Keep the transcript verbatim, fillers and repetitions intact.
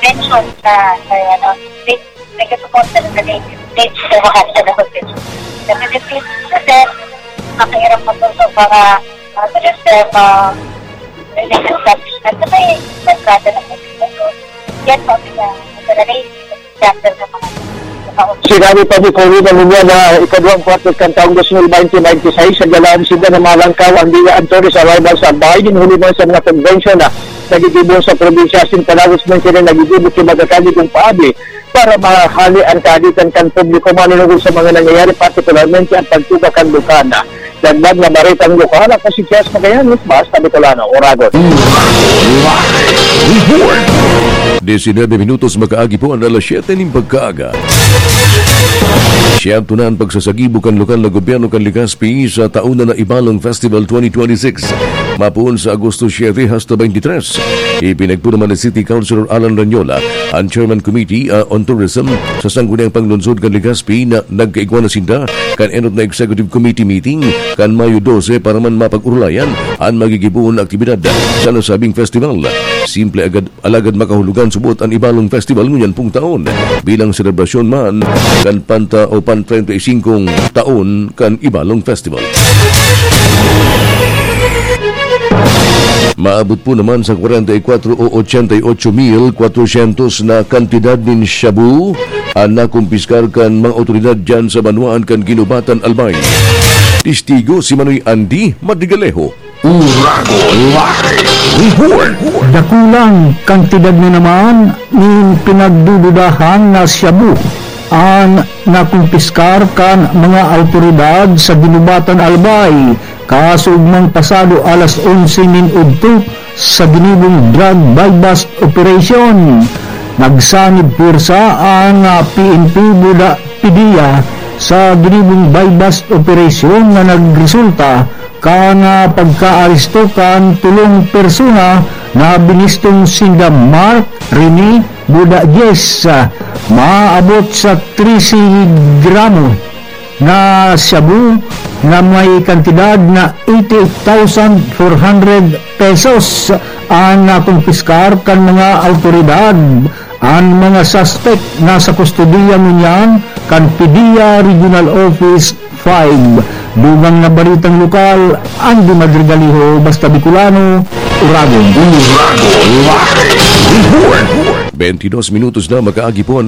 mention sa, sa ano, state, nag-support sa mga state sa mga sa mga hotel. Kasi this is the best, mahirap matuto para mag-register, uh, religious establishment. Kasi may kontrata na po. Yan po, sa, sa religious chapter sa mga sa Sinabi pa ni Corina Muñoz na ikaduhang kwarto kan taong dos mil baynte baynte sais, sa galaan sila na malangkaw ang Dia Antonio sa arrival sa bahay din huli man sa mga convention na nagigibo sa probinsya. Asin palawis man sila nagigibo ki magakaligong paabi para mahali ang kaaditan kan publiko manunungod sa mga nangyayari, partikularmente ang pagtuga kan bukana. Dagdag na baretang lokal, ako si Kias Magallanes, Basta Bicolano, Oragon. Diecinueve minutos makaagi po ang alas siyete nin pagkaaga. Siyam tunan pagsasagibo kan lokal na gobyerno kan Legazpi sa taon na na Ibalong Festival twenty twenty-six. Mapoon sa Agosto siete hasta twenty-three. Ipinagpuro man ni City Councilor Alan Ranyola, ang Chairman Committee uh, on Tourism sa Sangguniang Panglungsod kan Legazpi na nagkaigwa na sinda kan enot na Executive Committee meeting kan Mayo dose para man mapag-urulayan an magigibohon na aktibidad sa nasabing festival. Simple agad alagad makahulugan subot an Ibalong Festival ngunyan pong taon bilang selebrasyon man kan panta o pan treinta y cinco taon kan Ibalong Festival. Maabot po naman sa kwarenta y kwatro o ochenta y ocho mil kwatrosyentos na kantidad nin shabu an nakumpiskar kan mga otoridad dyan sa banwaan kan Ginubatan, Albay. Testigo si Manoy Andy Madrigalejo. Uragon Live Report. Dakulang kantidad na naman nin pinagdududahan na shabu an nakumpiskar kan mga awtoridad sa Ginubatan, Albay, kaso ugmang pasado alas onse nin udto sa ginibong drug buy-bust operation. Nagsanib pwersa ang ah, P N P Buda Pidia sa ginibong buy-bust operation na nagresulta kan ah, pagkaaresto kan tulong persona na binistong sinda Mark Rene Buda Diez, ah, maabot sa trese gramo na shabu na may kantidad na eighty-eight thousand four hundred pesos ang nakumpiskar kan mga awtoridad. An mga suspect nasa kustodiya ngunyan kan P D E A Regional Office five. Dugang na baritang lokal, Andy Madrigaliho, Basta Bicolano, Uragon. Uragon Live Report. Twenty-dos minutos na makaagi po ang